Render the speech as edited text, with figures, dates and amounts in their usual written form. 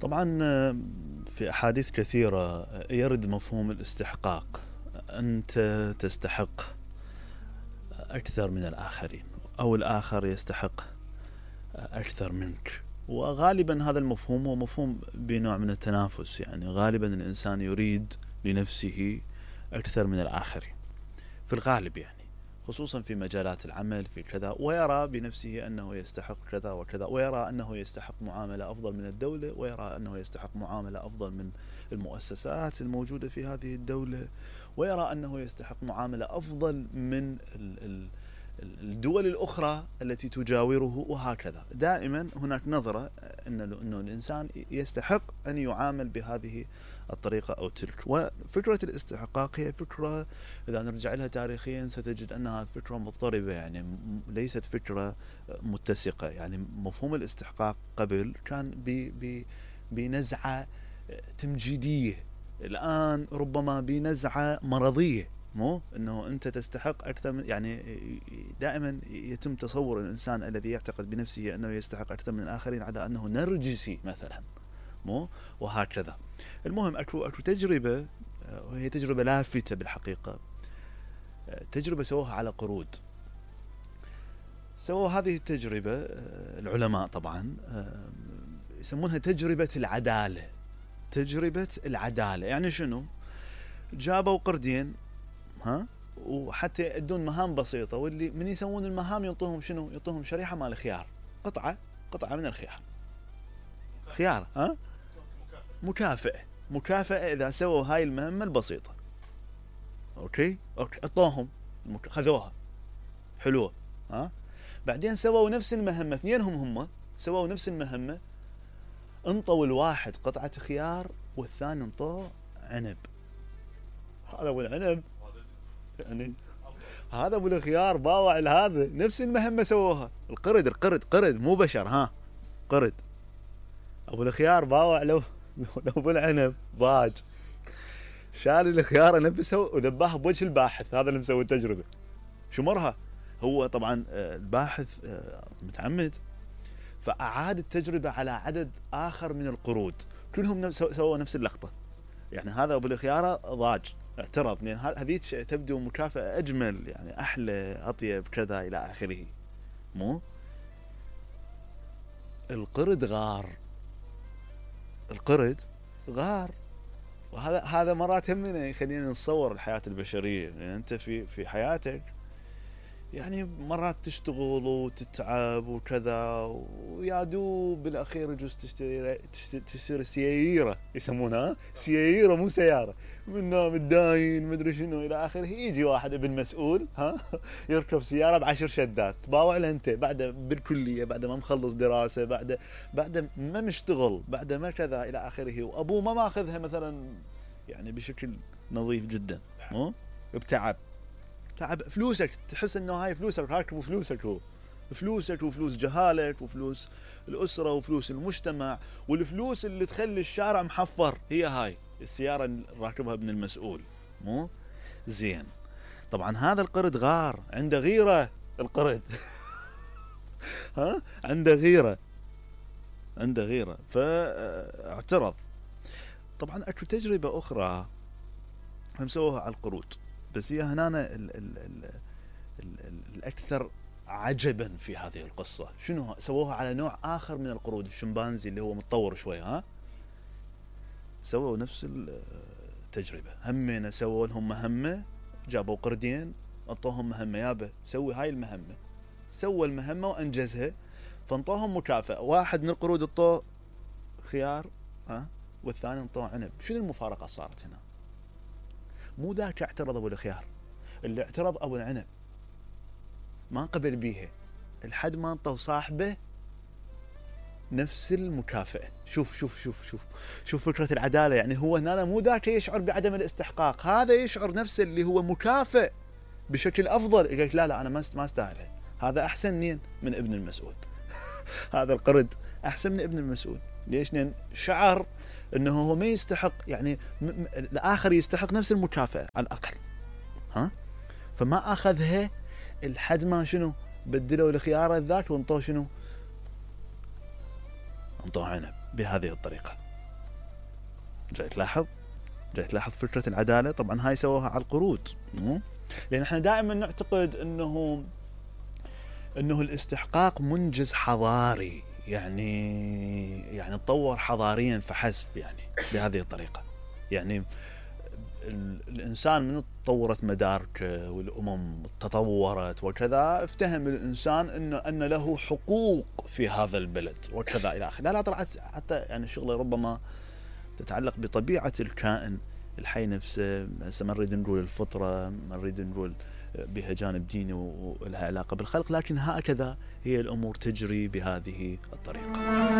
طبعا في أحاديث كثيرة يرد مفهوم الاستحقاق. أنت تستحق أكثر من الآخرين، أو الآخر يستحق أكثر منك. وغالبا هذا المفهوم هو مفهوم بنوع من التنافس، يعني غالبا الإنسان يريد لنفسه أكثر من الآخرين في الغالب، يعني خصوصا في مجالات العمل في كذا، ويرى بنفسه أنه يستحق كذا وكذا، ويرى أنه يستحق معاملة أفضل من الدولة، ويرى أنه يستحق معاملة أفضل من المؤسسات الموجودة في هذه الدولة، ويرى أنه يستحق معاملة أفضل من الدول الأخرى التي تجاوره، وهكذا. دائما هناك نظرة أنه الإنسان يستحق أن يعامل بهذه الطريقة أو تلك. وفكرة الاستحقاق هي فكرة إذا نرجع لها تاريخيا ستجد أنها فكرة مضطربة، يعني ليست فكرة متسقة. يعني مفهوم الاستحقاق قبل كان بنزعة تمجيدية، الآن ربما بنزعة مرضية، مو أنه أنت تستحق أكثر من، يعني دائما يتم تصور الإنسان الذي يعتقد بنفسه أنه يستحق أكثر من الآخرين على أنه نرجسي مثلا، مو وهكذا. المهم أكو تجربة، وهي تجربة لافتة بالحقيقة، تجربة سووها على قرود. سووا هذه التجربة العلماء طبعا يسمونها تجربة العدالة. تجربة العدالة يعني شنو؟ جابوا قردين وحتى يأدون مهام بسيطة، واللي من يسوون المهام ينطوهم شنو؟ ينطوهم شريحة مال خيار، قطعة من الخيار، خيار مكافأة إذا سووا هاي المهمة البسيطة. أوكي أعطوهم، خذوها حلوة. بعدين سووا نفس المهمة، اثنينهم هم سووا نفس المهمة، انطوا الواحد قطعة خيار والثاني انطوه عنب. هذا ابو العنب يعني هذا ابو الخيار باوع لهذا، نفس المهمة سووها. القرد مو بشر، قرد. ابو الخيار باوع لو ابو العنب ضاج، شال الخيار نفسه وذباه بوجه الباحث، هذا اللي مسوي التجربة. شو مرها؟ هو طبعا الباحث متعمد، فأعاد التجربة على عدد آخر من القرود، كلهم سووا نفس اللقطة. يعني هذا أبو الخيارة ضاج، اعترض، لأن هذه تبدو مكافأة أجمل، يعني أحلى أطيب كذا إلى آخره. مو القرد غار. وهذا مرات همنا يخلينا نتصور الحياة البشرية. يعني أنت في حياتك يعني مرات تشتغل وتتعب وكذا، ويا دوب بالاخير يجوز تشتري سيارة، يسمونها سيارة مو سيارة، منها متداين مدري شنو الى اخره. يجي واحد ابن مسؤول يركب سيارة ب10 شدات، باوع له انت بعد بالكلية، بعد ما مخلص دراسة، بعد ما مشتغل، بعد ما كذا الى اخره، وابوه ما ماخذها مثلا يعني بشكل نظيف جدا، مو بتعب فلوسك، تحس انه هاي فلوسك، راكب فلوسك، هو فلوسك وفلوس جهالك وفلوس الأسرة وفلوس المجتمع، والفلوس اللي تخلي الشارع محفر هي هاي السيارة اللي راكبها ابن المسؤول. مو زين. طبعا هذا القرد غار، عنده غيرة القرد عنده غيرة فاعترض. طبعا اكو تجربة اخرى هم سووها على القرود، بس هي هنا الأكثر عجبا في هذه القصة. شنو سووها على نوع آخر من القرود، الشمبانزي اللي هو متطور شوي. سووا نفس التجربة، همين سووا لهم مهمة، جابوا قردين انطوهم مهمة، يابا سوي هاي المهمة، سوى المهمة وأنجزها، فانطوهم مكافأة. واحد من القرود انطوه خيار والثاني انطوه عنب. شنو المفارقة صارت هنا؟ مو ذاك اعترض ابو الخيار، اللي اعترض ابو العنب، ما قبل بيها لحد ما انطوا صاحبه نفس المكافأة. شوف فكرة العدالة. يعني هو هنا مو ذاك يشعر بعدم الاستحقاق، هذا يشعر نفسه اللي هو مكافئ بشكل افضل، يقول لك لا انا ما استاهل، هذا احسن من ابن المسؤول هذا القرد احسن من ابن المسؤول. ليش؟ لأن شعر انه هو ما يستحق، يعني الاخر يستحق نفس المكافأة على الاقل، فما اخذها لحد ما شنو بدلوا الخيار ذاك وانطوه شنو، انطوه عنب بهذه الطريقة. جاي تلاحظ فكرة العدالة. طبعا هاي سووها على القرود، لأن احنا دائما نعتقد انه الاستحقاق منجز حضاري، يعني تطور حضاريا فحسب، يعني بهذه الطريقة. يعني الإنسان من تطورت مداركه والأمم تطورت وكذا، افتهم الإنسان أن له حقوق في هذا البلد وكذا إلى آخره. لا طلعت حتى يعني شغلة ربما تتعلق بطبيعة الكائن الحي نفسه. هسه ما نريد نقول الفطرة، ما نريد نقول بها جانب ديني ولها علاقة بالخلق، لكن هكذا هي الأمور تجري بهذه الطريقة.